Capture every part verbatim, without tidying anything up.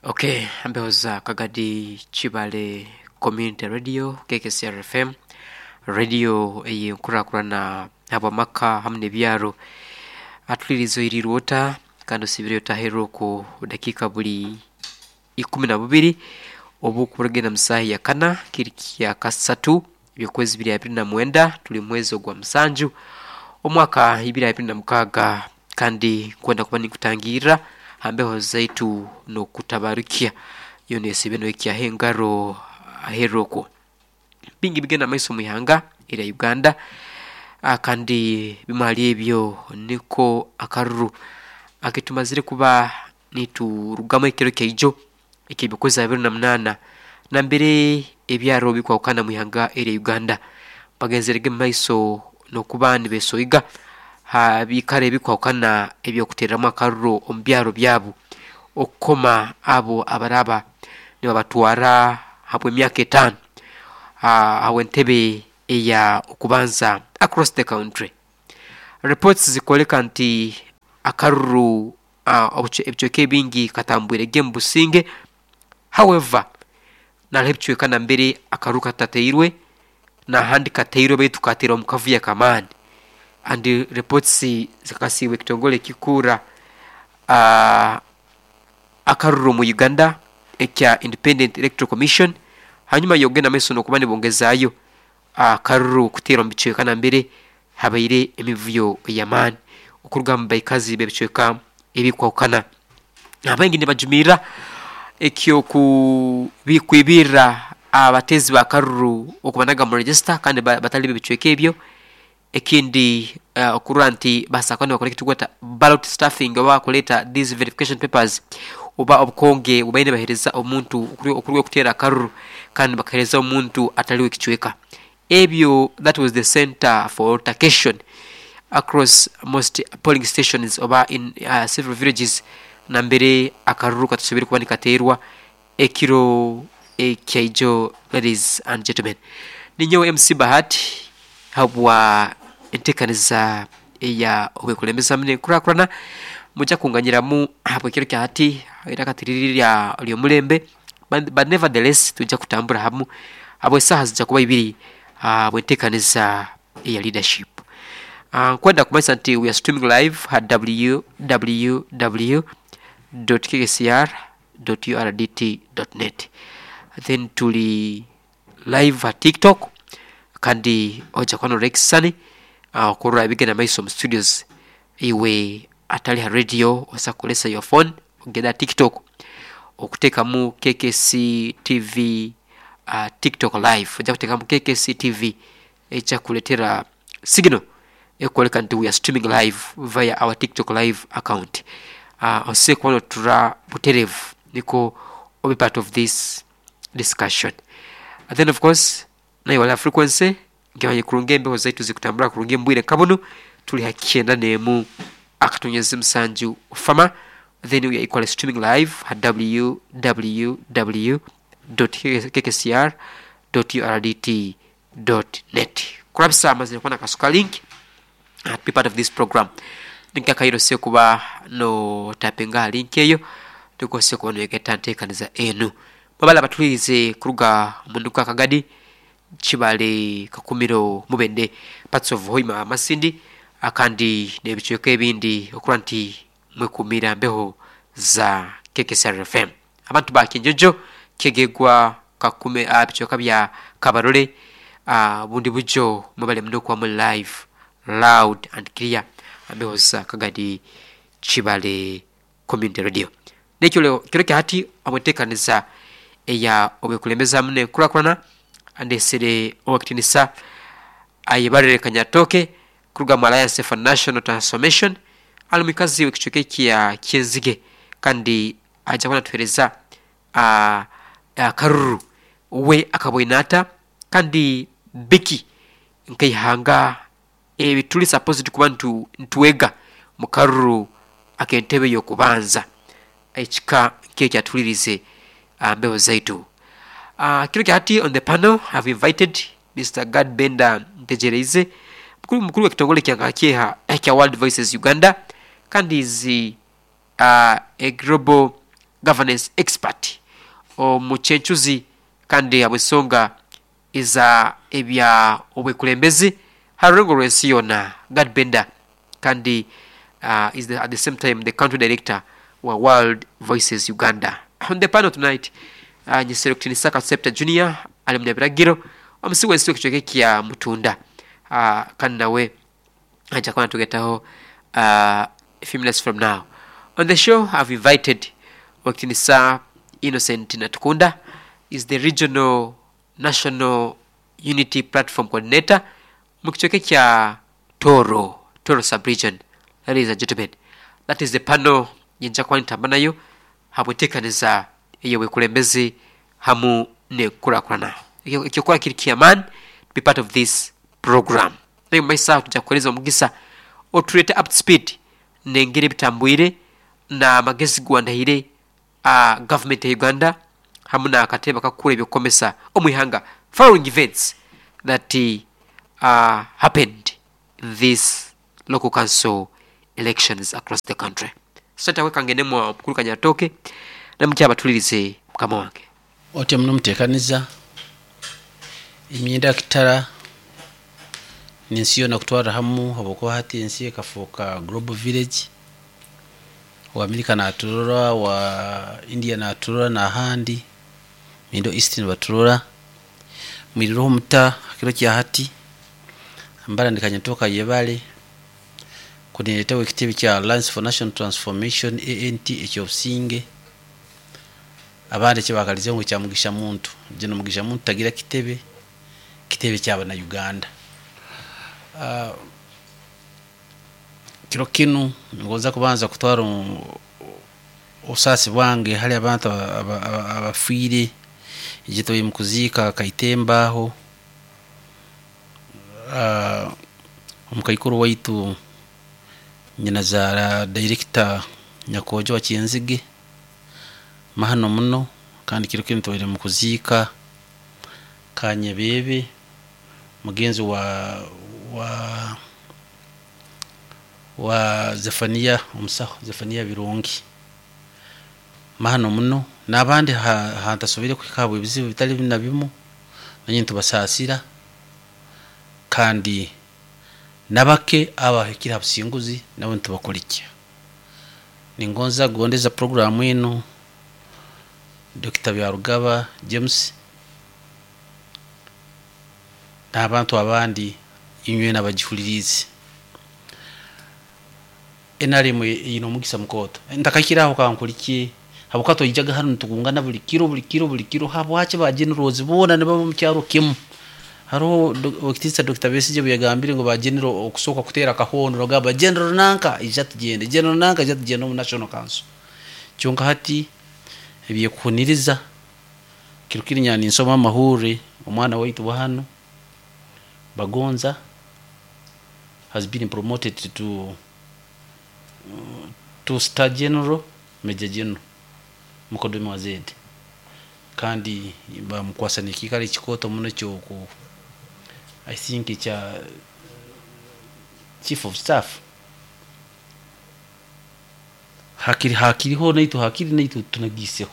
Okay, mbeho za Kagadi Kibale Community Radio, K K C R F M, radio ey'enkurakurana habw'amaka hamu n'ebyaro. Atuliriza oirirwe ota kandi osibire otaherwa okwo dakiika buli ikumi na bubiri obukurugenda mu saaha ya kana kiri kya kasatu by'okwezi biri abiri na mwenda, tuli mwezi ogwa musanju omwaka ibiri abiri na mukaaga. Kandi kwenda kuba ninkutangirra ha mbeho zaitu n'okutabarukya yoona esiibe noikyaho engaro aheeru okwo. Bingi bigenda maiso mu ihanga erya Uganda, ah, kandi bimu hali ebyo niko akaruru aketumazire kuba niturugamu ekiro kyaijo eky'eby'okwezi abiri na munaana, nambere ebyaro bikwahukana mu ihanga erya Uganda bagenzerege mu maiso n'okuba nibesoiga ha biikaro ebikwahukana eby'okuteereramu akaruru omu byaro byabu okukoma abo abaraaba nibabatwara habw'emyaka etaano ah, habw'entebe eya okubanza across the country. Reports zikwoleka nti akaruru ah, obucwe ebicweka ebingi katambwirege mu businge. However, naroho ebicweka nambere akaruru katatateirwe, n'ahandi kateirwe baitu kateirwe omu kavuyo ak'amaani, and reports zikakasiibwe ekitongole ekikuura uh, akaruru mu Uganda ekya Independent Electoral Commission. Hanyuma y'okugenda maiso n'okuba nibongezaayo akaruru kuteerwa mu bicweka nambere habaire emivuyo ey'amaani okuruga mu baikazi b'ebicweka ebikwahukana, abaingi nibajumirra eky'oku kwibirra abateezi b'akaruru okubanaga mu register kandi ba batali b'ebicweka ebyo. Ekindi, uh, okurora nti basobola kuba nibakora ekitukweta ballot stuffing oba kuleeta these verification papers oba obukonge bubaire nibaheereza omuntu okuruga okuteera akaruru kandi bakaheereza omuntu atali w'ekicweka ebyo. That was the center for altercation across most polling stations oba in uh, several villages nambere akaruru katasoboire kuba nikateerwa ekiro ekyaijo. Ladies and gentlemen, ninyowe M C Bahati habwa enteekaniza eya obwekulembeza hamu n'enkurakurana. Mujja kunganyiramu habw'ekiro kya hati iraka tiriri lya ly'omulembe, but, but nevertheless tujja kutambura hamu habw'esaaha zijja kuba ibiri habw'enteekaniza eya leadership. uh, nkwenda kumanyisa nti we are streaming live ha w w w dot k k c r dot u r d t dot net, then tuli live ha TikTok, kandi ojja kuba norora ekisisani uh, okurora ebigenda maiso mu studios. Iwe atali ha radio, osobola kukozesa your phone ogenda ha TikTok okuteekamu K K C T V, uh, TikTok live ojja kuteekamu K K C T V, ejja kukuleetera signal ekwoleka nti we are streaming live via our TikTok live account. uh, osobola kuba notura butereevu niko obe part of this discussion. And then of course naye wala frequency nkimanye kurungi embeho zaitu zikutambura kurungi mbwire nka bunu tuli ha kyenda n'emu akatonyezi musanju fama. Then we are equally streaming live ha w w w dot k k c r dot u r d t dot net. Kurabisa amazire kuba nakasuka link uh, to be part of this program, ninkakaire ose kuba no tapinga ha link eyo tukose kuba noyegeta nteekaniza enu. Mwebale abatulirize kuruga munduka Kagadi, Kibale, Kakumiro, Mubende, parts of Hoima, Masindi akandi n'ebicweka ebindi okurora nti mwekumira mbeho za K K C R F M. Abantu ba Kinjojo, Kyegegwa, Kakume, uh, bicweka bya Kabarole, uh, bundi bujo, mwebale muno okuba muli live loud and clear mbeho za Kagadi Kibale Community Radio. Nekyo kiro kya hati habw'enteekaniza eya obwekulembeza hamu n'enkurakurana, andesere owekitinisa Ayebarire Kanyatooke kuruga mu Alliance for National Transformation, ali mwikazi w'ekicweka ekya Kyenzige, kandi ajja kuba natuheereza uh, akaruru we akabwine ata kandi biki nkaihanga ebi tuli supposed kuba ntu, nitwega mu karuru ak'entebe y'okubanza ekika nk'ekyatulirize uh, mbeho zaitu. uh, kiro kya hati on the panel have invited Mister Gad Benda Ntegereize, mukuru mukuru w'ekitongole kya kyeha ekya World Voices Uganda, kandi is uh, a global Governance expert omukyencuzi kandi habw'ensonga eza ebya obwekulembezi ha rulengo rw'ensi yoona. Gad Benda kandi uh, is the, at the same time the country director wa World Voices Uganda. On the panel tonight, uh, nyesere kutinisa Katsepta Junior ali munyabiragiro omusi w'ensi w'ekicweka kya Mutunda, uh, kandi nawe aja kuba natugetaho uh, a few minutes from now. On the show I've invited Wakitinisa Innocent Natukunda, is the regional national unity platform coordinator mu kicweka kya Toro, Toro sub-region. Ladies and gentlemen, that is the panel yenja kuba nitamba nayo habwetekaniza ey'obwekulembezi hamu n'enkurakurana. Ekyokukola kiri kyamaani to be part of this program. Naye mumaiso aho tujja kukuhereza omugisa otuleete up to speed n'engeri ebitambwire n'amagezi gwandaire uh, government ya Uganda hamu n'akatebe akakukura ebyokukomesa omu ihanga following events that uh, happened in this local council elections across the country. Senta wekangenemu omukuru Kanyatoke namukyaba batulirize mukama wange. Otyo muno muteekaniza emyenda kitara n'ensi yoona kutwarra hamu habwokuba hati ensi ekafuuka global village. Wa Amerika naturora, wa India naturora, n'ahandi Middle East nibaturora. Mwirireho muta hakiro kya hati ambara ndikanyatoka yebale kuniletewa ekitebe kya Alliance for National Transformation A N T ekyobusinge abandi ekibakalize ngu kya Mugisha Muntu. Gino Mugisha Muntu tagira kitebe, kitebe ky'abana Uganda. Uh, kiro kinu ngoza kubanza kutwara obusasi bwange hali abantu abafiire egito mukuzika Kaitembaho. Uh, omukaikuru waitu nyinazaara director Nyakojo wa Kyenzige mahano muno, kandi kiro kinu tubaire mukuzika Kanyebebe mugenzi wa wa wa Zefania omusaho Zefania Birungi mahano muno, n'abandi hantasobire kuhika ebizibu bitali na bimu nanye ntubasasira, kandi nabake abahikira abusinguzi nabo ntubakolikya. Ningonza gondeza programu eno Doctor Byarugaba James n'abantu abandi inywe n'abagihulirize. N R M ino omugisa mukooto ntakakiraho kankuliki habwokuba twijaga hano nitugungana buli kiro buli kiro buli kiro, habwaki ba generals boona nibaba omu kyaro kimu. Hariho Ekitiisa Doctor Besigye bwe yagambire ngu ba general okusooka kuteera akahondo nogamba general nanka ija tugende, general nanka ija tugende omu National Council. Kyonka hati ebyekuhuniriza kiro kiri nyani nsoma amahurire omwana waitu wa hano Bagonza has been promoted to uh, to star general, major general mukodomi wa Z, kandi bamukwasa n'ekikaro ekikooto muno kyoku I think kya chief of staff. Hakiri hakiriho naitu hakiri naitu tunagiseho.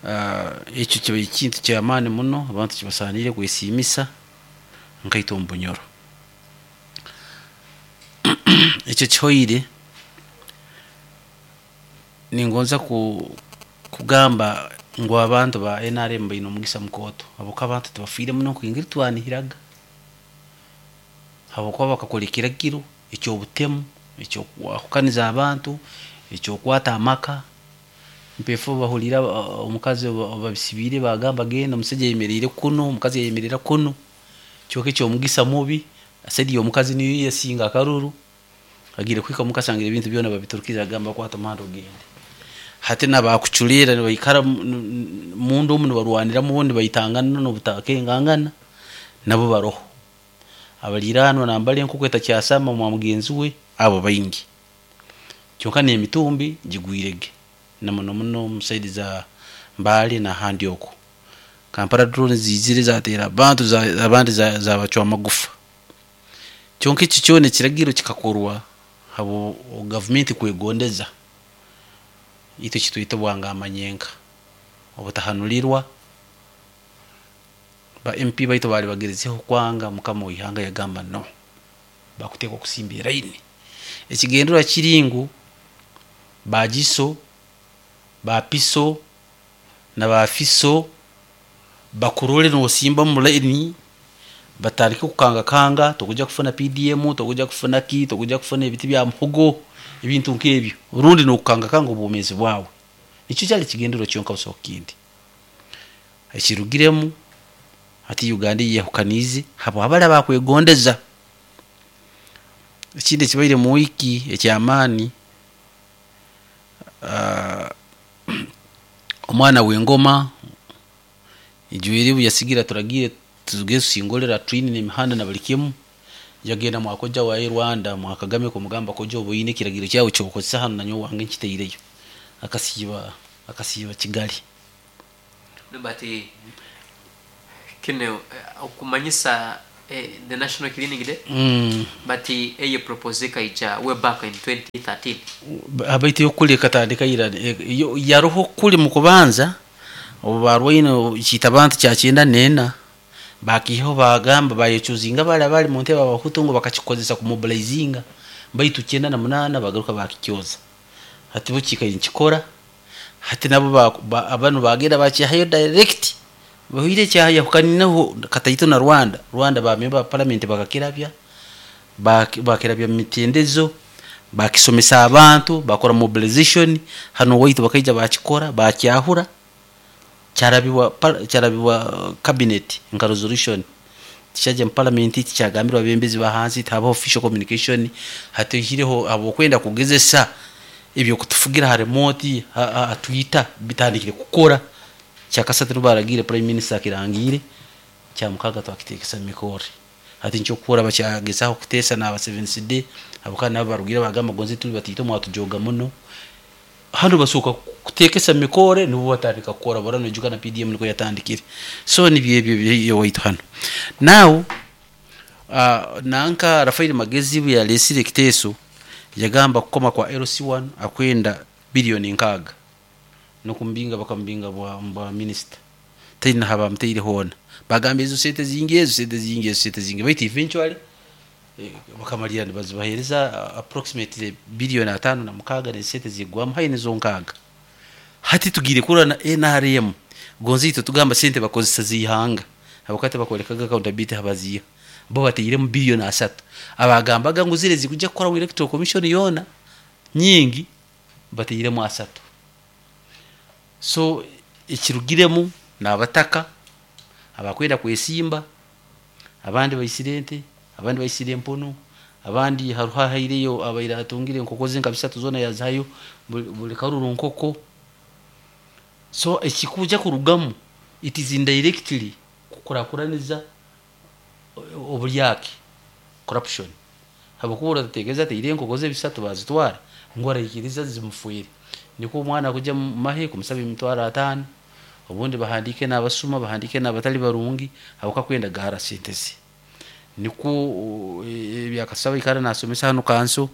Uh, ekyo kiba ekintu ky'amaani muno abantu kibasaaniire kwesiimisa nkaita omu Bunyoro. Ekyo kihoire ningonza ku kugamba ngu abantu ba N R M baine omugisa mukooto habwokuba abantu tibafiire muno nk'engeri twanihiraga, habwokuba bakakora ekiragiro eky'obutemu ekyokwahukaniza abantu ekyokwata amaka. Mpefo bahulira omukazi babisibiire bagamba genda omusajja ayemereire kuno, omukazi ayemerera kuno, kyonka eky'omugisa mubi asedi omukazi niyo yasinga akaruru agire kuhika mukasanga ebintu byona babiturukiza agamba kwata omuhanda ogende. Hati nabakuculeera nibaikara mundu omu nibarwaniramu bo nibaitangana n'obutakengangana nabo baroho abaliraanwa nambali enkoko etakyasama mwa mugenzi we abo baingi, kyonka n'emitumbi gigwirege na muno muno omu saidi za Mbale n'ahandi okwo. Kampala drone zizire zateera abantu abandi zabacwa amagufa. Kyonka ekyo kyona ekiragiro kikakorwa habo gavumenti kwegondeza. Itwe kitwita obwangamanyenka obutahanulirwa. Ba M P baitu bali bagerizeho kwanga, mukama w'ihanga yagamba no, bakuteekwa kusimba eraini. Ekigendererwa kiri ngu bagiso, bapiso na bafiso bakurole nosimba mu laini, batandike kukangakanga, tokuja kufuna P D M, tokuja kufuna ki, tokuja kufuna ebiti bya muhogo, ebintu nk'ebyo, rundi n'okukangakanga obwomeezi bwawe. Nikyo kyali kigendererwa kyonka busaho kindi. Ekirugiremu hati Uganda yehukaniize habwabali abakwegondeza. Ekindi ekibaire mu wiiki eky'amaani, uh, omwana w'engoma ijwire yasigira turagiire tugeze tusingolera twine n'emihanda na buli kimu, yagenda mwakoja wa Rwanda mwa Kagame kumugamba koja oboine ekiragiro kyawe kyokozesa hano nanyowe wange nkiteireyo, akasiiba akasiiba Kigali. Bati kine okumanyisa eh, the National Cleaning Day mm. Bati eye propose kaija way back in twenty thirteen. Abaitu yokuli katandika ira yaroho kuli mu kubanza obu barwaine kitabantu kya kyenda nena bakiho bagamba bayechuzinga bali abali mu ntebe abahutu ngo bakakikozesa ku mobilizinga, baitu kyenda na munana bagaruka bakikyoza. Hati bo kikora hati nabo ba, abanu bagenda bakihayo direct bahire kyahaya hukaninaho kataito na Rwanda. Rwanda ba member parliament bakakirabya bakirabya mitendezo, bakisomesa abantu, bakora mobilization hano waitu bakaija bakikora bakyahura kyarabiwa kyarabiwa cabinet nka resolution tichaje parliament tikyagambirwa bembezi bahansi taba official communication. Hatihireho abo kwenda kugezesa ebyo kutufugira ha remote ha Twitter bitandikire kukora. Kyakasatu baragire prime minister kirangire kyamukaga twakitekesa mikore. Hati ncho kukora bakyagezaho kutesa na seven C D abakana nabo barugira bagamba gonze tuli batito mwatujoga muno. Hano basuka kutekesa mikore nibo batandika kukora barano juka na P D M niko yatandikire. So ni byebyo byo waitu hano. Now uh, nanka Rafael Magezi yalesire kiteso yagamba kukoma kwa L C one akwenda bilioni nkaga nokumbinga bakambinga bwa bwa minister tayina haba mteire hona bagamba ezo sente zingi ezo sente zingi ezo sente zingi bait eventually eh, bakamalira nibazibahereza approximately bilioni atano na mukaga ne sente zigwamu haine zo nkaga. Hati tugire kura na N R M gonzi tugamba sente bakozesa zihanga abakate bakolekaga accountability habaziya bo bateyire mu bilioni asatu abagambaga ngo zire zikujja kukora mu electoral commission yona nyingi bateyire mu asatu. So ekirugiremu nabataka abakwenda kwesimba, abandi baisirente, abandi baisire empono, abandi haruha haireyo abaira atungire enkoko ze nka bisatu zona yazayo buli karuru nkoko. So ekikuja kurugamu it is indirectly kukurakuraniza obulyake corruption. Habakubura tategeza teire enkoko ze bisatu bazitwara ngo arayikiriza zimufuire. Niko omwana kuja mahe kumusaba emitwaro atano, obundi bahandike n'abasuma bahandike n'abatali barungi abuka kwenda gahara sentezi. Niko byakasaba ikara nasomesa hano kanso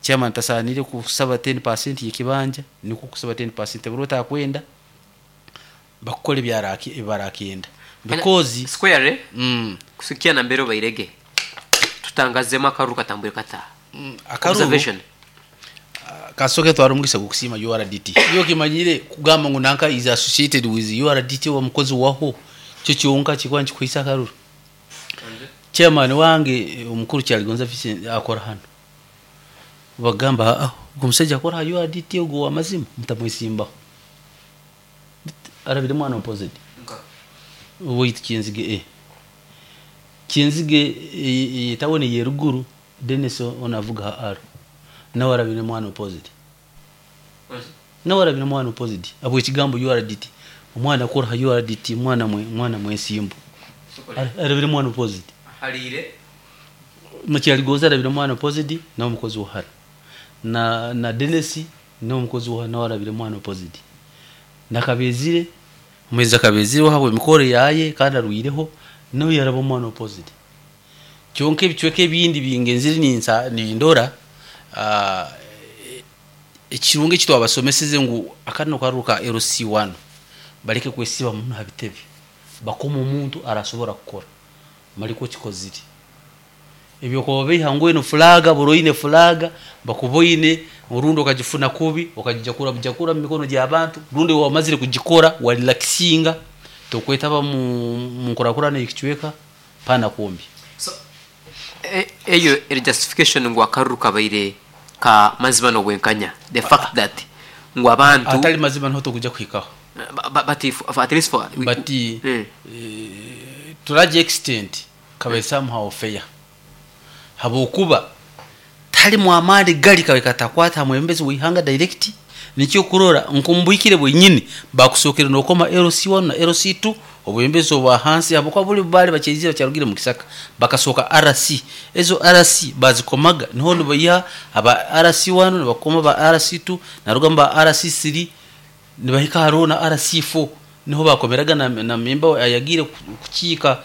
chairman tasanire kusaba ten percent yekibanja, niko kusaba ten percent burota akwenda bakukole byaraki barakenda because square mm kusikia na mbero bairege tutangazema akaru katambwe kata mm, akaru observation kasoke twarumugisa gukusima U R D T. Iyo kimanyire kugamba ngo nanka is associated with U R D T wa mukozi waho cyo cyonka kikwa nkikwisa akaruru. Chairman wange omukuru Kyaligonza Vincent akora hano bagamba ah gumusajja akora U R D T ogo amazima mutamwisimbaho arabire mwana opposite wait Kinzige eh Kinzige e, tawone yeruguru Dennis onavuga aro nawe arabire mwana opposite nawe arabire mwana opposite abo ekigambo U R D T omwana akora U R D T mwana mwe mwana mwesimbo arabire mwana opposite harire Mukyaligonza arabire mwana opposite na omukozi wahara na na Dennis na omukozi wahara nawe arabire mwana opposite nakabezire mweza kabezire habwe mikore yaye kandi arwireho nawe yaraba mwana opposite kyonke ebicweka ebindi bingenzire ninsa nindora uh, Ekirungi eki twabasomeseze ngu akano karuru ka L C one baleke kwesiba muno ha bitebe, bakoma omuntu arasobora kukora maliko kikozire ebyo beiha ngu eno flaga buroine flaga bakuboine orundi okagifuna kubi okagijakura bujakura mu mikono gy'abantu, rundi wamazire kugikora walirakisinga tokwetaba mu nkurakurana ekicweka pana kumbi. So eyo e justification ngu akaruru kabaire ka mazima n'obwenkanya, the fact that ngu abantu atali mazima niho tukuja kuhikaho, but if, at least for but mm. to large extent kabe somehow fair, habokuba tali mwamali gali kabe katakwata mwembezi wihanga direct. Nikyo kurora nkumbwikire bwenyini bakusokera nokoma L C one na L C two obwembezi obwa hansi habokwa buli bali bacheizira kyarugire mu kisaka bakasoka R C. Ezo R C bazikomaga niho nibayiha aba R C one nibakoma ba R C two narugamba R C three nibahika haro na R C four niho bakomeraga na, na member ayagire kuchika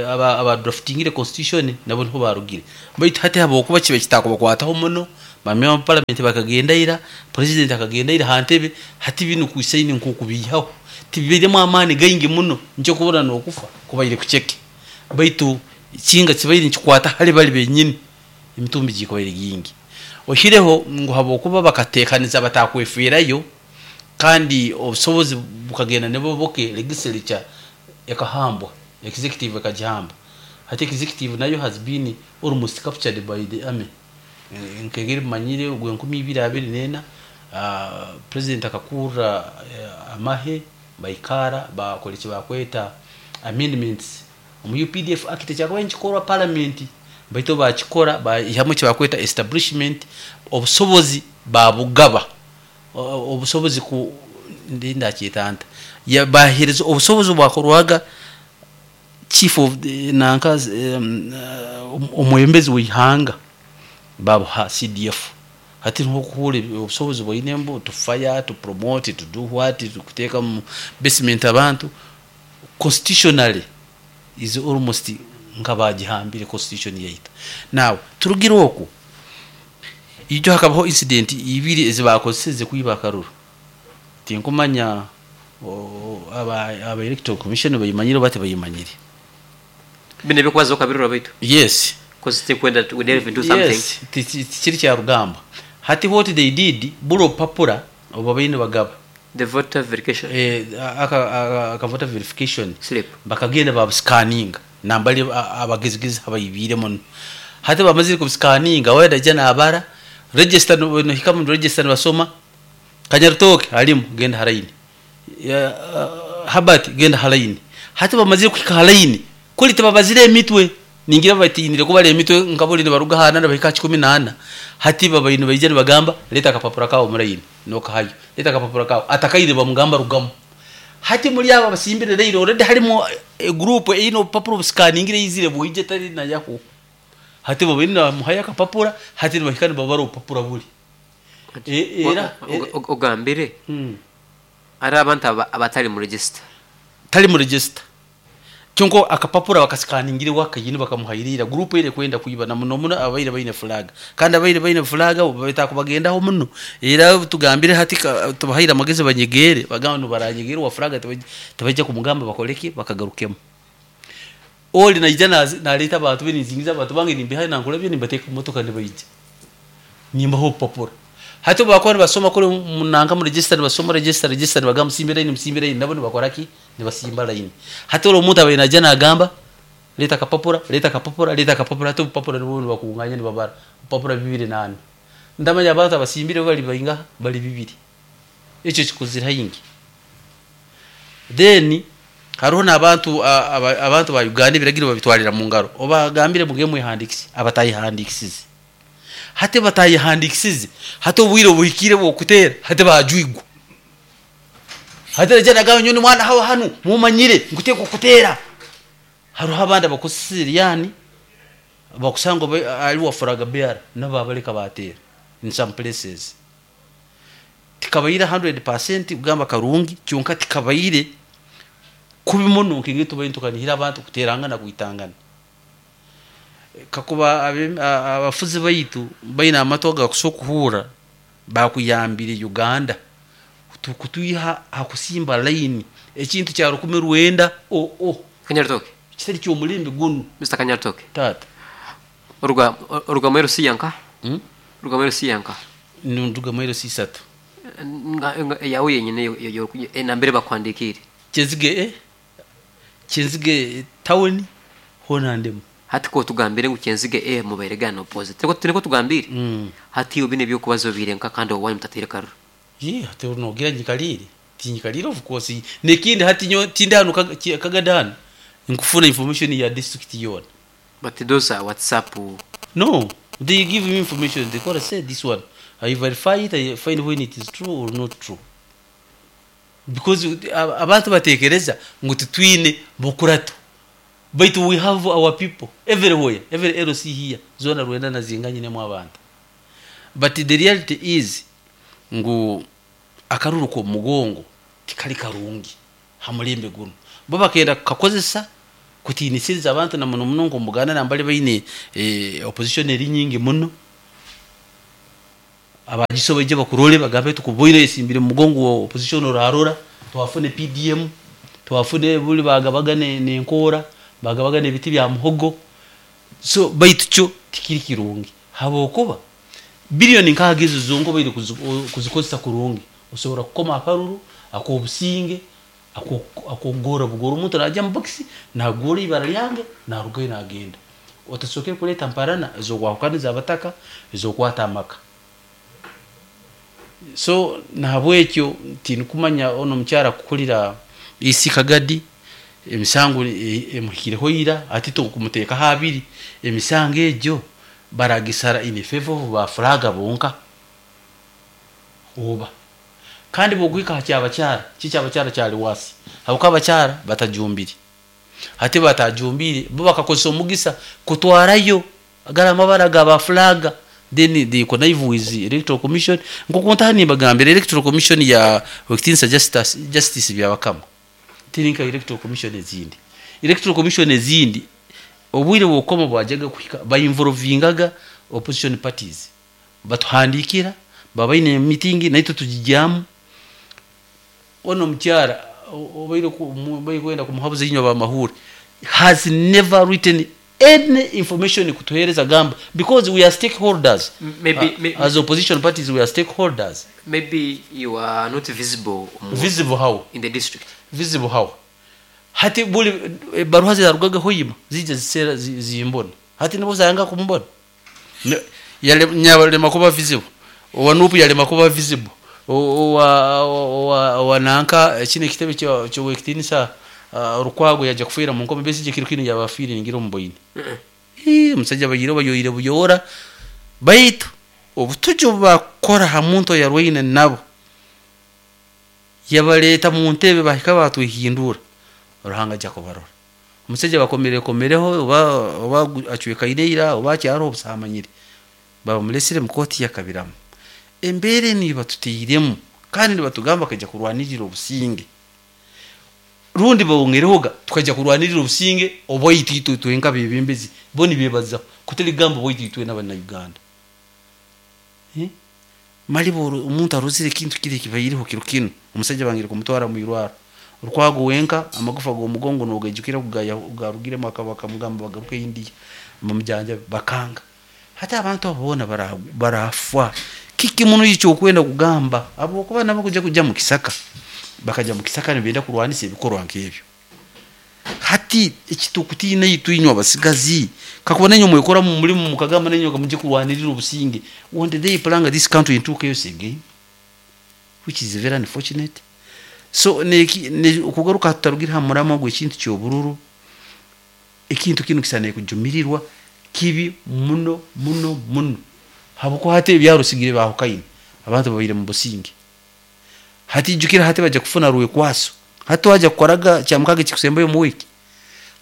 aba aba draftingire constitution nabo niho barugire. Baitu hati habokuba kibe kitakubakwataho muno bamwe parliament bakagendaira president akagendaira hantebe hati binu kusaini nkukubihaho tibiremo amani gaingi muno ncho kubona nokufa kubaire kucheke. Baitu kinga kibaire nkikwata hali bali benyini emitumbi gikobaire gingi oshireho ngu habokuba bakatekaniza batakweferayo kandi obusobozi bukagenda nebo boke legislature ekahambwa executive ekajihamba. Hati executive nayo has been almost captured by the army. Nkegere manyire ogwe nkumi ibiri abiri nena uh, president akakura uh, amahe baikara bakole bakweta amendments omu U P D F act kyakaba nkikorwa parliament baito bakikora bahamwe kibakweta establishment obusobozi babugaba obusobozi ku ndinda kitanta ya bahereza obusobozi bwakorwaga chief of nanka um, omwembezi wihanga babuha C D F. Hati nko kuhule obusobozi bwainembo to fire to promote to do what to kuteka mu basement abantu constitutionally is almost nkabagihambire constitution yaita. Now turugira oku ijo hakabaho incident ibiri ezibakozeseze kuiba akaruru. Tinkumanya aba aba electoral commission bayimanyire bate bayimanyire bine bikwazo kabirura baitu. Yes, because they kwenda we didn't do something. Yes, tikiri kya rugamba. Hati what they did bulo papura oba bayine bagaba the voter verification eh aka aka voter verification slip bakagenda ba scanning nambali abagezigezi abayibire muno. Hati bamazire ku scanning wenda jana abara register no hika mu register basoma Kanyarutoke alimu genda haraini ya uh, Habat genda haraini. Hati bamazire kuhika haraini kuli tababazire emitwe ningira batinire kubale emitwe nkabuli ne baruga hana nabahika kumi na nana. Hati babayinu bayije bagamba leta akapapura kawo muraini nokahayo leta akapapura kawo atakaire bamugamba rugamu. Hati muri aba basimbire rero already harimo e group ino papuro scanning izire buije tari na yaho. Hati babayinu muhaya akapapura hati bahika babaro papura buli e, era ogambire hmm. Ari abantu abatari mu register tari mu register kyonko akapapura bakaskaningire wakayini bakamuhayirira group ile kwenda kuiba na muno muno abaire baine flag kandi abaire baine flag beta kubagendaho muno era tugambire hati tubahayira amagezi banyegere bagamba baranyegere wa flag tabajja kumugamba bakoleki bakagarukemo oli na ijana naleta abantu binizingiza abantu bange nimbihaye nankulabye nimbateka motoka nibayije nimbaho papura. Hati bakora basoma kuri munanga mu register basoma register register bagamba simba line simba line nabo bakora ki nibasimba line. Hati olo omuntu abaina jana agamba leta kapapura leta kapapura leta kapapura hati papura nibo bakunganya nibabara papura bibiri nane ndamanya abantu abasimbire bali bayinga bali bibiri ekyo kikuzira hingi. Then hariho n'abantu abantu ba Uganda biragiro babitwalira mu ngaro obagambire muge mwihandikisi abatayihandikisize hati batayihandikisize hati obwire obuhikire bwokutera hati bajwigwa hati rejana gawe nyoni mwana hawa hanu mumanyire nguteko kutera. Hariho abandi abakusiriyani bakusanga ali wafuraga bear nababaleka batera in some places tikabayira one hundred percent kugamba karungi kyonka tikabayire kubimuno nkingi tubayintukanihira abantu kuterangana kuitangana. Kakuba abafuzi baitu baina amato gakusokuhura Bakuyambire Uganda kutwiha hakusimba line ekintu kya rukumi rwenda o o Kanyaritoke. Kitari kyomulembe gunu. Mister Kanyaritoke. Tata. Oruga oruga mwero siyanka? Hmm? Oruga mwero siyanka. Nduga mwero sisatu. Nga yawe yenyine yo nambere bakwandikire. Kyenzige eh? Kyenzige town hona ndemu. Hati ko tugambire ngu Kyenzige eh muberegana opposite. Teko tuneko tugambire. Mm. Hati ubine byo kubazo birenka kandi owanyu mutatere karuru. Ye hati unogira nyikalire. Tinyikalire of course. Nekindi hati nyo tinde hano kagadana. Nkufuna information ya district yona. But those are WhatsApp. No, they give me information. They gotta say this one. I verify it, I find when it is true or not true. Because abantu batekereza ngo tutwine bukurato. But we have our people everywhere, every L C here. Zona rwenda na zinganye ne mu abantu. But the reality is ngo akaruru ko mugongo tikali karungi hamulembe guno. Bo bakenda kakozesa kutinisiriza abantu na muno muno ngo mugana nambale baine eh, opposition eri nyingi muno. Abagisobeje bakurole bagabe tukuboire esimbire mugongo wa opposition orarora twafune P D M twafune buli bagabagane nenkora bagabagane ebiti bya muhogo. So baitu cyo tikiri kirungi habokuba billion nkagizo zongo baire kuzikozesa kurungi usobora kukoma akaruru akobusinge akogora bugora umuntu najya mu box nagora ibara lyange narugayo nagenda otasokere kuleta mparana zo kwakaniza abataka zo kwata amaka. So nahabwekyo tinkumanya ono mukyara kukulira isi Kagadi emisango emuhikireho ira ati tokumuteka habiri emisango ejo baragisara in favor of ba flaga bonka oba kandi bogwika cyabacyara cyabacyara cyari wasi habuka abacyara batajumbiri ati batajumbiri bo bakakosa omugisa kutwarayo agarama baraga ba flaga. Then the connive with the electoral commission nko ntani bagambira electoral commission ya Wektinsa justice justice byabakama tirinka electoral commission ezindi electoral commission ezindi obwire bwokoma bwajaga kuhika ba involvingaga opposition parties batuhandikira babaine meeting naito tujijamu ono mchara obaire ku kwenda kumuhabuza inyo ba mahuri has never written any information kutuhereza gamba because we are stakeholders. Maybe, uh, maybe as opposition parties we are stakeholders. Maybe you are not visible. Visible how? In the district. Visible how? Hati buli baruha zarugaga hoyima zije zisera zimbona hati nibo zanga kumbona yale nyabale makuba visible owanupu yale makuba visible owa owa wananka kine kitebe cyo cyo wekitinisa Rukwago yaje kufira mu ngoma bese kiri kino yabafiri ngira umboyine eh musajja bayiro bayoyire buyora baitu obutujo bakora ha muntu yarwaine nabo yabaleta mu ntebe bahika batwihindura Ruhanga jakobarora umusajja bakomere komereho oba oba acweka ireira oba cyaro obusamanyire baba mulesire mu koti yakabiramu embere ni batutiyiremu kandi ni batugamba kajya kurwanirira obusinge rundi bawongerehoga tukajya kurwanirira obusinge oboyititwe twenka bebembezi boni bebaza kuteligamba boyititwe n'abana Uganda eh mali boro umuntu aruzire kintu kire kibayiriho kirukino umusajja bangira kumutwara mu irwara Rukwago wenka amagufa go mugongo nogejukira kugaya ugarugire makabaka mugamba bagaruke India mumjanja bakanga hata abantu abona barafwa kiki muno yicho kwenda kugamba abo kuba nabo kuja kuja mu kisaka bakaja mu kisaka nibenda kurwanisa ebikorwa nk'ebyo hati ekitukutina yituinywa basigazi kakubona nyo mwekora mu mulimu mukagamba nenyo kamuje kurwanirira obusinge one day planga this country into chaos again which is very unfortunate. So ne okugaruka tutarugira hamurama gwe kintu cyobururu ekintu kino kisane kujumirirwa kibi muno muno muno habuko hati ebyarusigire bahukaine abantu babire mu businge hati jukira hati baje kufuna ruwe kwaso hati waje kukoraga cyamukage kikusembayo mu wiki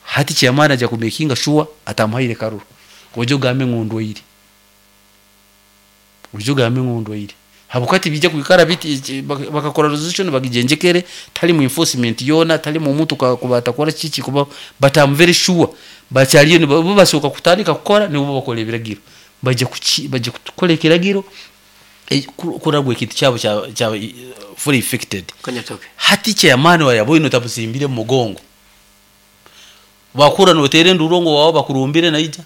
hati cyamana aja kumekinga shuwa atamuhaire karuru ojo gambe ngondo iri ojo gambe ngondo iri habukati bijya kwikara biti bakakora resolution bagijenjekere tali mu enforcement yona tali mu muntu kubata kora chichi kuba but I'm very sure bacyaliyo ni bo basoka kutandika kukora ni bo bakora ebiragiro baje kuki baje kukora ekiragiro E, ku- kuragwa ekintu kyabo kya- kyaba eh, fully affected. Kanyatoke. Hati chairman wa yaboine otamusimbire mu mugongo, bakura notere endurongo wawe bakurumbire naija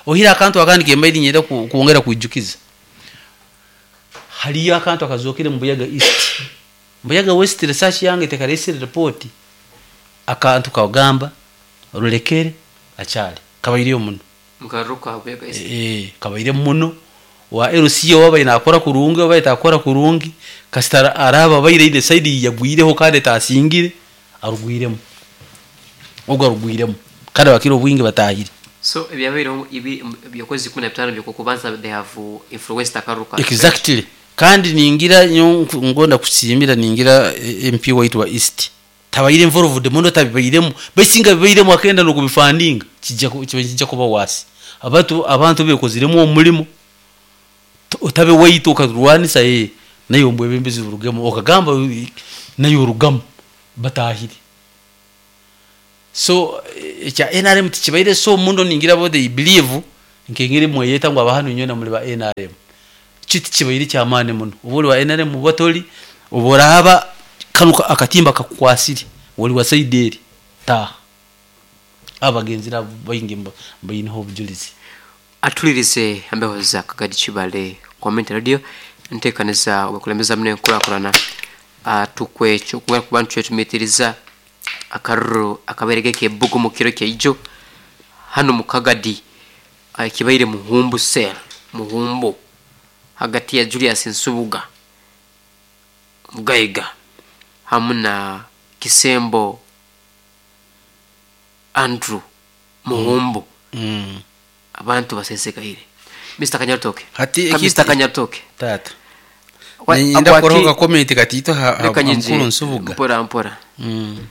ohira akantu akandi kembaire nyenda ku- kwongera kwijukiza. Haliyo akantu akazokere mu Buyaga East, Buyaga West. Research yange tekaresire report. Akantu kagamba rulekere akyali kabaireyo muno. Mukaruka Buyaga East. Eh, kabaire muno wa L C wabaire nakora kurungi, wabaire takora kurungi, kasita araba baire ine side yagwireho kandi tasingire arugwiremu, ogwo arugwiremu kandi abakiro obwingi batahire. So ebyabaireho ibi byokwezi kumi na bitano byokubanza, they have uh, influenced akaruka. Exactly. Kandi ningira nyo ngonda kusimira, ningira eh, M P waitu wa East tabaire involved muno, tabibairemu, basinga bibairemu akenda nokubifandinga, kijja ku- kiba kijja kuba wasi. Abantu abantu bekoziremu omulimo. T- otabe waitu okarwanisa ye nayo mbwebembezi burugemu, okagamba eh, nayo orugamu batahire. So eh, ekya N R M tikibaire so muno. Ningira bo they believe nkengeri mweyeta ngu abahanu nyona muli ba N R M, kiti kibaire kyamaani muno. Oba oli wa N R M oba toli, oba oraba kano ka- akatimba kakukwasire, oli wa side eri taaha. Abagenzi nabo baingi mba- baineho obujulizi. Atulirize embeho za Kagadi Kibale Community Radio, nteekaniza obukulembeza muno enkulakulana. Ah, tukwekyo kuba kuba ntwetumitiriza akaruru akabaire k'ebbugu mu kiro kyaijo hano mu Kagadi, ah, kibaire Muhumbu cell, Muhumbu, hagati ya Julius Nsubuga Mugaiga hamu na Kisembo Andrew Muhumbu. Mm. Abantu basesekaire. Mister Kanyatoke. Hati Ka eki- Mister Kanyatoke. Tata. Wa- Nenda akwati- kuroga comment katito ha ha- Reka nyinji, mukuru Nsubuga. Mpora mpora. Mm.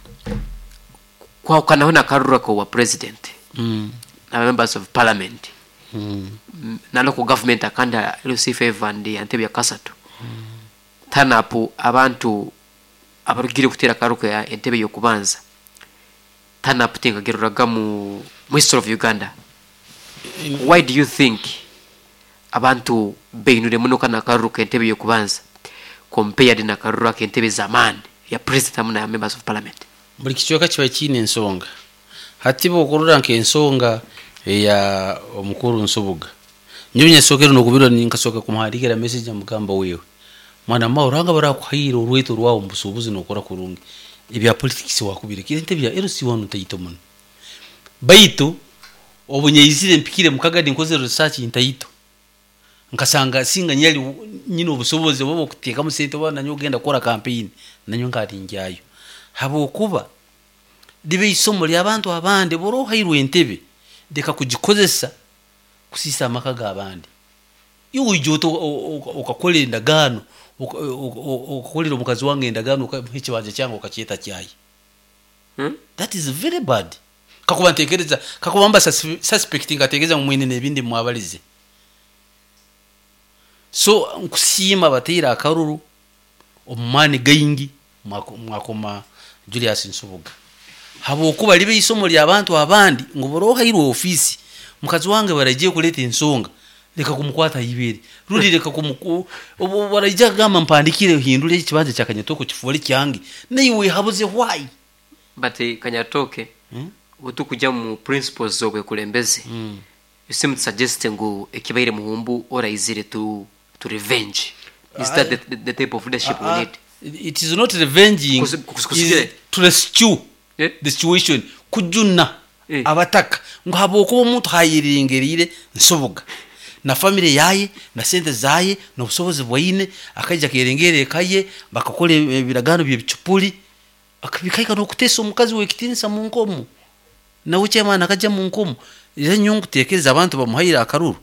Kwawukanaho nakarura ko wa president Mm. na members of parliament Mm. Mm, na local government akanda L C five and Entebbe ya kasatu tanapu. Abantu abarugire kutera akaruka ya entebe yokubanza tanapu tingageruraga mu mu history of Uganda. Why do you think abantu beinure muno kana akaruka entebe yokubanza compared na karura k'entebe zamani ya president hamwe na members of parliament? Buli kicweka kiba kiine ensonga. Hati bwokurora nk'ensonga eya omukuru Nsubuga, nyowe nyasookere nokubirwa, nkasooka kumuhandikira message amugamba, wewe mwana ma oranga barakuhaire orweto rwawe mu busuubuzi nokora kurungi, ebya politics wakubire entebe ya L C one ntaito muno. Baitu obunyaizire mpikire mukagadi nkoze research ntaito, nkasanga singa nyali nyine obusobozi oba okuteekamu sente oba nanyo ogenda kukora campaign nanyo nkaringyayo, habwokuba libe isomo ly'abantu abandi. Bora ohairwe entebe, leka kugikozesa kusiisa amaka g'abandi. Iwe oija ota okakora endagaano, oka- o- o- okakolera omukazi wange endagaano, okamuha ekibanja kyange okakyeta kyayi. Hmm? That is very bad. Kakuba ntekereza, kakuba mba sus- suspect, nkatekereza ngu mwine n'ebindi mwabalize. So nkusiima bateire akaruru omu maani gaingi, mwako- mwakoma Julius Nsubuga, habwokuba libe isomo ly'abantu abandi ngu bora ohairwe ofiisi, mukazi wange baragiye kuleeta ensonga, leka kumukwata ibere, rundi leka kumuku obu baraija kugamba mpandikire hindure ekibanja kya Kanyatoko kifuule kyange, naiwe habuze why? But eh, Kanyatoke, Hmm? otukujja mu principles z'obwekulembeze, Mm. you seem to suggest ngu ekibaire Muhumbu oraizire to, to revenge. Is that the, the, the type of leadership we Ah, need? It is not revenging. Kusi- kusi- kusikire. Is to rescue Eh? the situation, kujuna Eh. abataka ngu habwokuba omuntu hayiringiriire Nsubuga na family yaye na sente zaye n'obusobozi bwaine, akaija akerengera eka ye, bakakora ebiragano byebicupuri, bikaika n'okuteesa omukazi w'ekitinisa mu nkomo, nawe chairman akajja mu nkomo. Era nyo nkutekereza abantu bamuhaire akaruru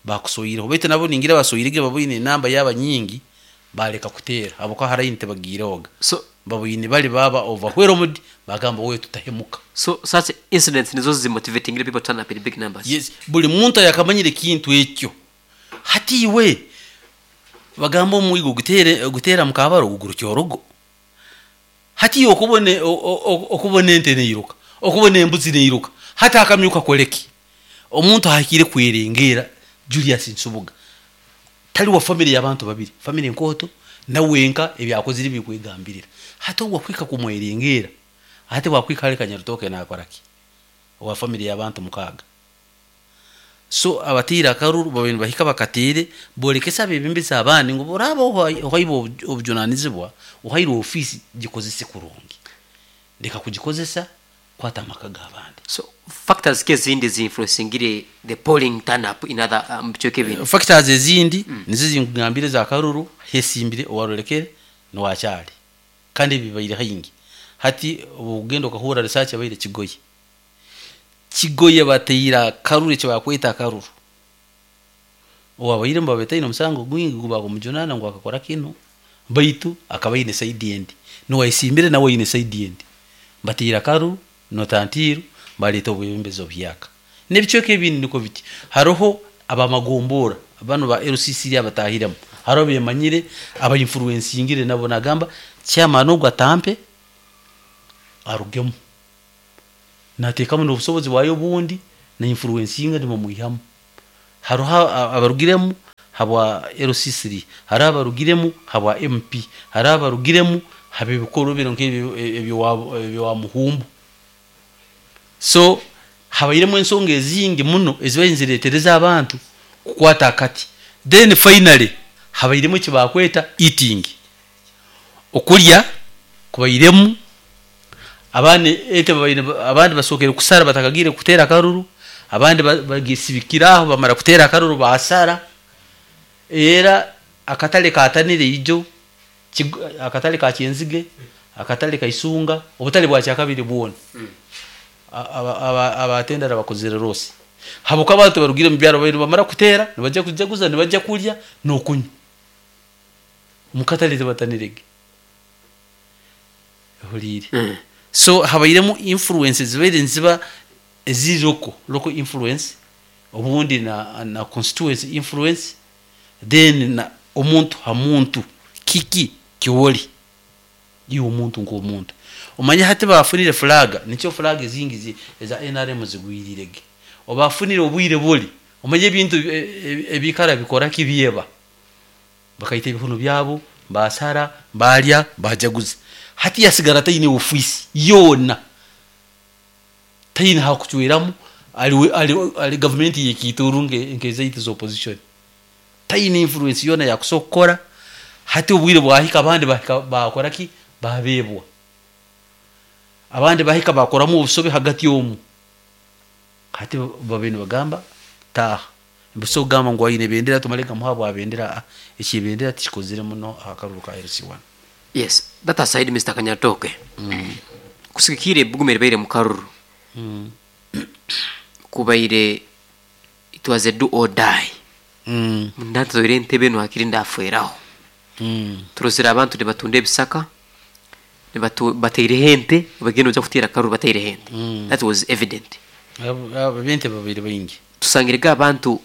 bakusoyireho, baitu nabo ningira basoyirege baboine enamba yaba nyingi, baleka kuteera habwokuba haraini tebagiirehoga. So baboine bali baba overwhelmed, bagamba wewe tutahemuka. So such incidents nizo zimotivating people to turn up in big numbers? Yes, buli muntu yakamanyire ekintu ekyo. Hati iwe bagamba omwigo gutere gutera mukabaro gugurukya orugo. Hati iwe okubona o- o- okubona ente neiruka, okubona embuzi neiruka, hati akamyuka koleki omuntu ahikire kwerengera. Julius Nsubuga tali wa family y'abantu babiri, family nkooto nawenka ebyakozire bikwegambirira. Hati wakwika kumwerengera, ate wakwika ali Kanyarutoke nakoraki wa family y'abantu mukaaga. So abatiire akaruru babiri bahika bakatiire bolekesa abebembezi abandi ngu boraba ohaibwe obujunanizibwa, ohairwe ofiisi, gikozese kurungi, leka kugikozesa kwata amaka g'abandi. So factors ki ezindi zinfluencingire the polling turn up in other um, bicweka ebindi? Factors ezindi mm. nizo zinkugambire za karuru hesimbire owarolekere nowakyali, kandi bibaire haingi. Hati obugenda okahura research abaire Kigoye, Kigoye bateira karuru ekyo bakweta karuru, owabaire mubabetaine omusango gwingi gubakumujunana ngu akakora kino, baitu akaba aine side endi, nowaisimbire nawe aine side endi, bateira karuru notantiru baleeta obwebembezi obuhyaka. N'ebicweka ebindi niko biti. Haroho abamagombora bano ba L C C abatahiremu, hariho bemanyire abainfluencingire nabo, nagamba chairman ogwo atampe arugemu, nateekamu n'obusobozi bwayo obundi na influencinga nibamwihamu. Haroho abarugiremu habwa L C three, hariho abarugiremu habwa M P, hariho abarugiremu haba ebikorwa bino nk'ebyo ebyo muhumbu. So habairemu ensonga ezingi muno ezibaire nizireetereza abantu kukwata akati. Then finally habairemu ekibakweta eating, okulya kubairemu. Abandi ente babaire, abandi basookere kusara batakagiire kuteera akaruru, abandi bagisibikira aho, bamara kuteera akaruru basara. Era akatale katanire ijo, akatale ka Kyenzige, akatale ka Isunga, obutale bwa kyakabiri bwona abatendera bakozere rose habuka abantu barugire mu byaro baire bamara kuteera nibajja kujaguza, nibajja kulya n'okunywa mukatale, tebatanirege huliire. Mm. So habairemu influences zibaire niziba eziri local local influence, obundi na, na constituency influence, then na omuntu ha muntu, kiki kiwoli iwe omuntu nk'omuntu omanye. Hati bafunire flag, nikyo flag ezingi zi- eza N R M zigwirirege, obafunire obwire buli omanye ebintu e- e- ebikara bikora kibyeba, bakaita ebihunu byabo, basara, balya, bajaguza. Hati yasigara taine ofiisi yoona, taine hakucweramu, ali, ali, ali gavumenti yekiituru nke- nk'ezaitu za opposition, taine influence yoona yakusobola kukora. Hati obwire bwahika, abandi bahika bakora ki, babebwa, abandi bahika bakoramu obusobe hagati omu. Hati babe nibagamba taaha mbuso kugamba ngu aine bendera, tumale kamuha bwa bendera. Ah, ekibendera tikikozire muno aha karuru ka L C one. Yes, that aside, Mister Kanyatoke, kusigikire ebbugumu eribaire mu karuru, mm. kubaire it was a do or die. Mm. Ndatzoire entebe eno hakiri ndafweraho. Mm. Turozere abantu nibatunda ebisaka, nibatu- bataireho ente, bagenda oja kuteera karuru bataireho ente. Mm. That was evident. Abo- abo bente babiri baingi. Tusangirege abantu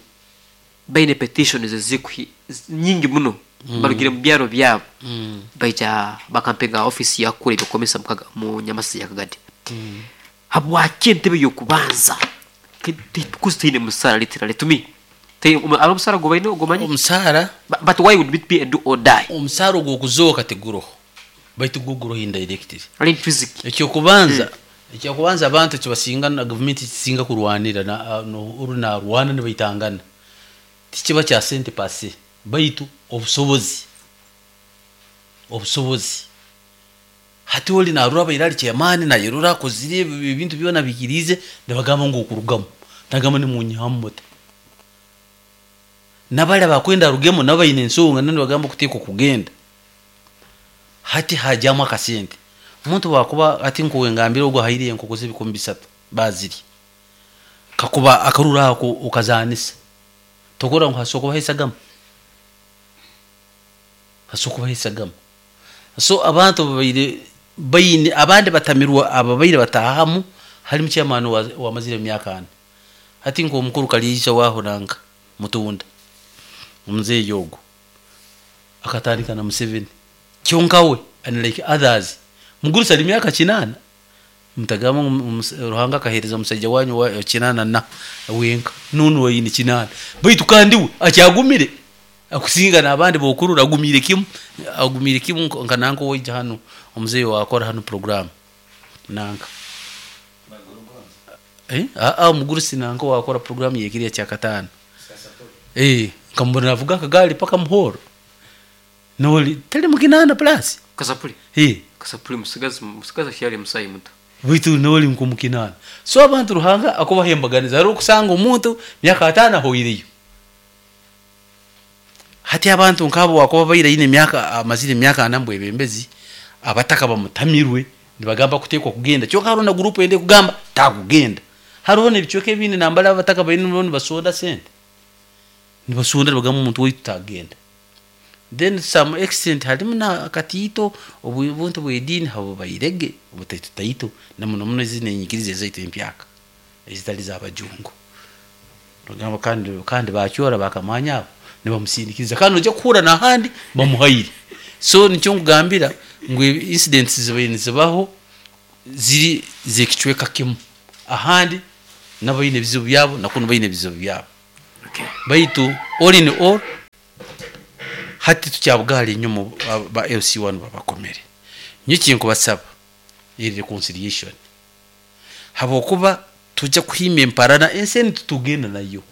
baine petitions ezikuhi nyingi muno, barugire mu byaro byabo, mm. baija bakampenga ofisi yakura ebyokomesa mukaga- mu Nyamasi ya Kagadi. Mm. Habwaki entebe yokubanza kuzi teine musara? Literally to me ari omusara gwe baine ogumanye. Omusaara. But, but why would it be a do or die? Omusaara ogw'okuzooka tiguroho, baitu gwo guroho indirectly. Ali intrinsic. Ekyokubanza, ekyokubanza abantu kibasinga na gavumenti kisinga kurwanira na no- oru narwana nibaitangana, tikiba kya sente pase, baitu obusobozi obusobozi Hati oli narura abaire ali chairman, nayerura akozire ebi- ebintu byona bikirize, nibagamba ngu okurugamu, nagamba nimunyihamu muta, nabali abakwenda arugemu nabo baine ensonga, nabo nibagamba okuteekwa kugenda. Hati hajyamu akasente, omuntu wakuba ati nkuwe ngambire ogwo ahaire enkoko z'ebikumi bisatu bazirya, kakuba akaruru ako okazanisa, tokora ngu hasobola kubaho esagama, hasobola kubaho esagama. So abantu babaire baine abandi batamirwa, ababaire batahamu halimu chairman wa- wamazire emyaka ana, hati nk'omukuru Kaliija waho nanka Mutunda, omuzeeyi ogwo akatandika na Museveni, kyonka we unlike others mugurusi ali myaka kinaana. Mutagamba ngu omus- Ruhanga akaheereza omusaija wanyu wa kinaana na wenka nunu waine kinaana, baitu kandi we akyagumire akusinga n'abandi bokurura, agumiire kimu, agumiire kimu. nka nka nanka owaija hanu, omuzeeyi wakora hanu program nanka, eh aa omugurusi nanka wakora program yekiriya kyakataano, eh nkamubona navuga akagaali paka muhoro, noli tali mukinaana plus. Kasapuli. Eh. Kasapuli musigazi, musigazi akyali musayi muto. Baitu noli nkomukinana. So abantu Ruhanga akubahembaganiza, hariho okusanga omuntu myaka ataano ahoireyo. Hati abantu nk'abo wakuba baire aine emyaka, amazire emyaka ana mbwebembezi, abataka bamutamirwe nibagamba kuteekwa kugenda, kyonka hariho na gurupu ende kugamba takugenda. Hariho n'ebicweka ebindi nambara abataka baine nibo nibasonda sente, nibasonda nibagamba omuntu waitu tagenda. Then some extent harimu na akatiito obuntu bw'ediini habo bairege obutaito taito, na muno muno zino enyikiriza ezaitu empyaka ezitali z'abajungu. Bagamba kandi kandi bakyora bakamanya abo nibamusindikiriza, kandi nojja kuhurra n'ahandi bamuhaire. So nikyo nkugambira ngu incidents zibaire nizibaho ziri z'ekicweka kimu, ahandi nabo baine ebizibu byabo, nakunu baine ebizibu byabo. Okay. Baitu all in all, hati tukyabugaali enyuma ba L C one babakomere. Nyo kinkubasaba eri reconciliation, habwokuba tujja kuhima emparana ensi eni tutugenda nayo.